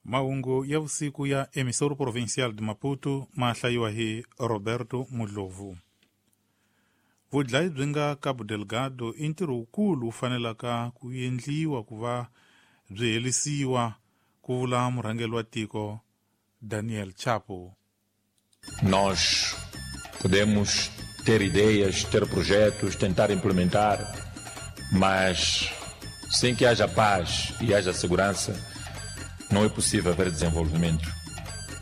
Mahungu ya vusiku ya Emissora Provincial de Maputo ma hlayiwa hi Roberto Mudlovu. Vudlayi byi nga Cabo Delgado i ntirho wukulu wu fanelaka ku endliwa ku va byi herisiwa, ku vula murhangeri wa tiko Daniel Chapo. Nós podemos ter ideias, ter projetos, tentar implementar, mas sem que haja paz e haja segurança, não é possível haver desenvolvimento.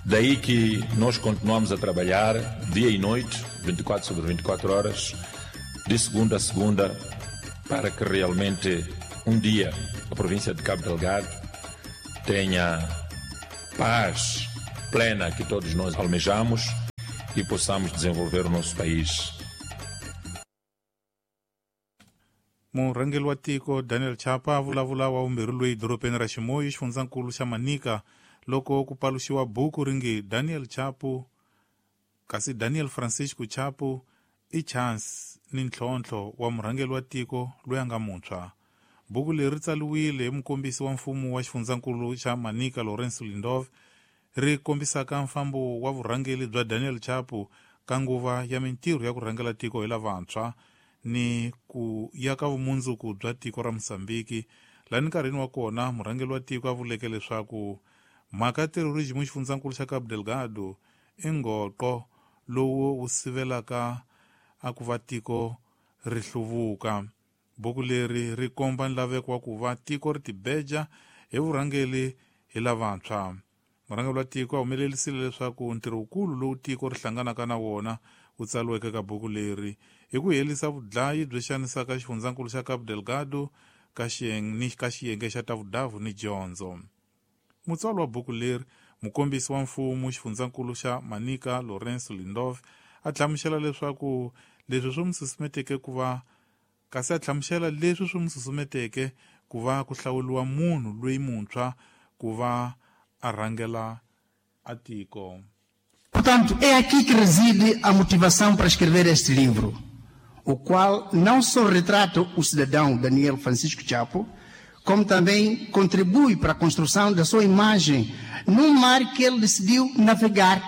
Daí que nós continuamos a trabalhar dia e noite, 24 sobre 24 horas, de segunda a segunda, para que realmente um dia a província de Cabo Delgado tenha paz plena que todos nós almejamos e possamos desenvolver o nosso país. Murhangeri wa tiko Daniel Chapo a vulavula wa vumbirhi loyi dorobeni ra Chimoio xifundzankulu xa Manica loko ku paluxiwa buku ri nge Daniel Chapo kasi Daniel Francisco Chapo i chance ni ntlhontlho wa murhangeri wa tiko loyi a nga muntshwa. Buku leri ri tsariwile hi mukombisi wa mfumo wa xifundzankulu xa Manica Lourenço Lindov ri kombisaka mfambo wa vurhangeri bya Daniel Chapo ka nguva ya mintirho ya ku rhangela tiko hi lavantshwa ni ku ya ka vumundzuku bya tiko ra Mozambique. Laha nkarhini wa kona murhangeri wa tiko a vuleke leswaku mhaka ya terrorism xifundzankulu xa Cabo Delgado i ngoqo lowu wu sivelaka a ku va tiko ri hluvuka. Buku leri ri komba nlaveko wa ku va tiko ri tibeja hi vurhangeri hi lavantshwa. Murhangeri wa tiko a humelerisile leswaku ntirho wukulu lowu tiko ri hlanganaka na wona wu tsariweke ka buku leri hi ku herisa vudlayi byi xanisaka xifundzankulu xa Cabo Delgado ka xiyenge xa ta vudavu ni dyondzo. Mutswari wa buku leri, mukombisi wa mfumo xifundzankulu xa Manica Lourenço Lindov, a hlamusela leswaku leswi swi n'wi susumeteke ku va kasi a hlamusela leswi swi n'wi susumeteke ku va ku hlawuriwa munhu loyi muntshwa ku va a rhangela a tiko. Portanto, é aqui que reside a motivação para escrever este livro, o qual não só retrata o cidadão Daniel Francisco Chapo, como também contribui para a construção da sua imagem num mar que ele decidiu navegar,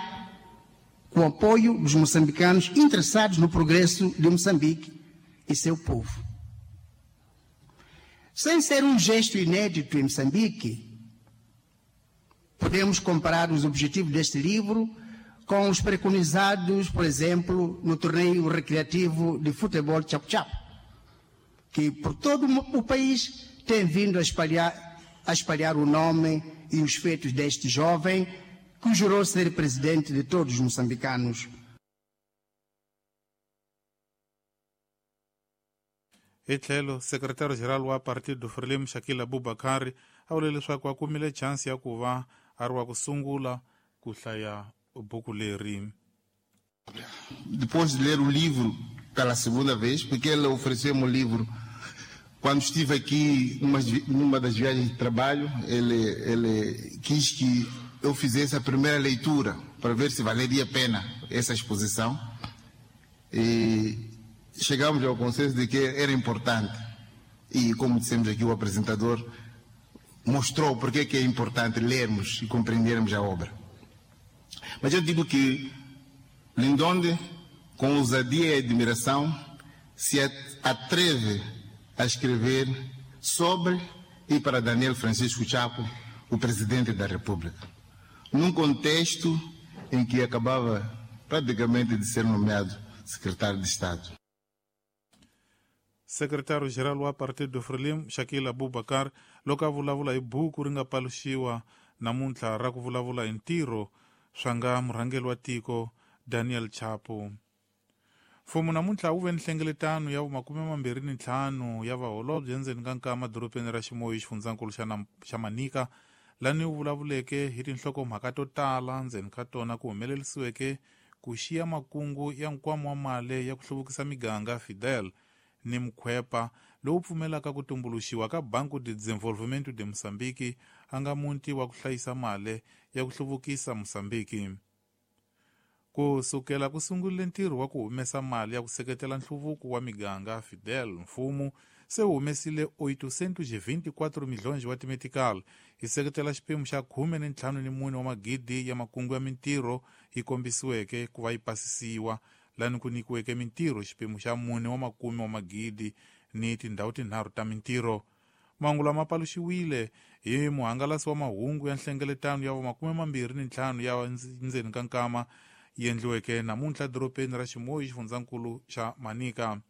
com o apoio dos moçambicanos interessados no progresso de Moçambique e seu povo. Sem ser um gesto inédito em Moçambique, podemos comparar os objetivos deste livro com os preconizados, por exemplo, no torneio recreativo de futebol Chapo Chapo, que por todo o país tem vindo a espalhar o nome e os feitos deste jovem que jurou ser presidente de todos os moçambicanos. Hi tlhelo, secretário-geral wa Partido Frelimo Shakil Abubakar a vule leswaku a kumile chance ya ku va a ri wa ku sungula ku hlaya buku leri. Depois de ler o livro pela segunda vez, porque ele ofereceu-me o livro quando estive aqui numa das viagens de trabalho, ele quis que eu fizesse a primeira leitura para ver se valeria a pena essa exposição. E chegamos ao consenso de que era importante. E, como dissemos aqui, o apresentador mostrou porque que é importante lermos e compreendermos a obra. Mas eu digo que Lindonde, com ousadia e admiração, se atreve a escrever sobre e para Daniel Francisco Chapo, o presidente da República, num contexto em que acabava praticamente de ser nomeado secretário de Estado. Secretário-geral wa Partido Frelimo, Shakil Abubakar, loko a vulavula hi buku ri nga paluxiwa namuntlha ra ku vulavula hi ntirho swa nga murhangeri wa tiko Daniel Chapo. Mfumo namuntlha wu ve ni nhlengeletano ya 25 ya vaholobye endzeni ka nkama dorobeni ra Chimoio xifundzankulu xa Manica, lani wu vulavuleke hi tinhlokomhaka to tala ndzeni ka tona ku humelerisiweke ku xiya makungu ya nkwama wa mali ya ku hluvukisa miganga Fidel ni mukhwepa lowu pfumelaka ku tumbuluxiwa ka Banco de Desenvolvimento de Moçambique, a nga muti wa ku hlayisa mali ya ku hluvukisa Moçambique. Ku sukela ku sungurile ntirho wa ku humesa mali ya ku seketela nhluvuko wa miganga Fidel, mfumo Se wu humesile 824 milhões wa timetical hi seketela xiphemu xa 14 wa magidi ya makungu ya mintirho yi kombisiweke ku va yi pasisiwa lani ku nyikiweke mintirho xiphemu xa 4 wa makume wa magidi ni tindhawu tinharhu ta mintirho. Mahungu lama paluxiwile hi muhangalasi wa mahungu ya nhlengeletano ya 25 ya ndzeni ka nkama yi endliweke namuntlha dorobeni ra Chimoio xifundzankulu xa Manica.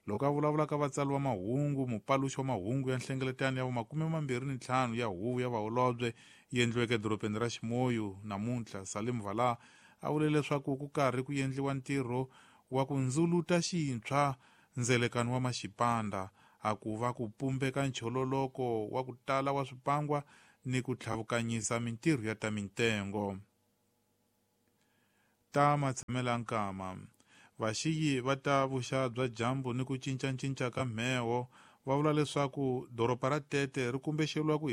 Loko a vulavula ka vatsari va mahungu, mupaluxi wa mahungu ya nhlengeletano ya 25 ya huvo ya vaholobye yi endliweke dorobeni ra Chimoio namuntlha, Salim Vala a vule leswaku ku karhi ku endliwa ntirho wa ku ndzuluta xintshwa ndzelekano wa maxipanda a ku va ku pumbeka nchololoko wa ku tala wa swipangwa ni ku tlhavukanyisa mintirho ya ta mintengo. Ta matshamela nkama vaxiyi va ta vuxa bya dyambu ni ku cincacinca ka mheho va vula leswaku doroba ra Tete ri kumbexeriwa ku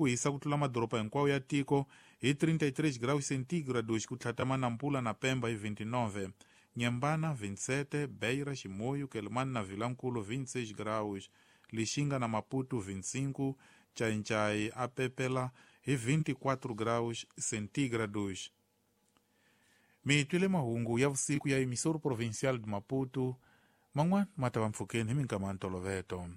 hisa ku tlula madoroba hinkwawo ya tiko hi 33 graus centígrados ku tlhatama Nampula na Pemba hi 29, Nyembana 27, Beira, Chimoio, Quelimane na Vilankulo 26 graus, Lixinga na Maputo 25, Chainchai a Pepela hi 24 graus centígrados. Mi twile mahungu ya vusiku ya emissora provincial de Maputo, man'wana ma ta va mpfhukeni hi minkama ya ntolovelo.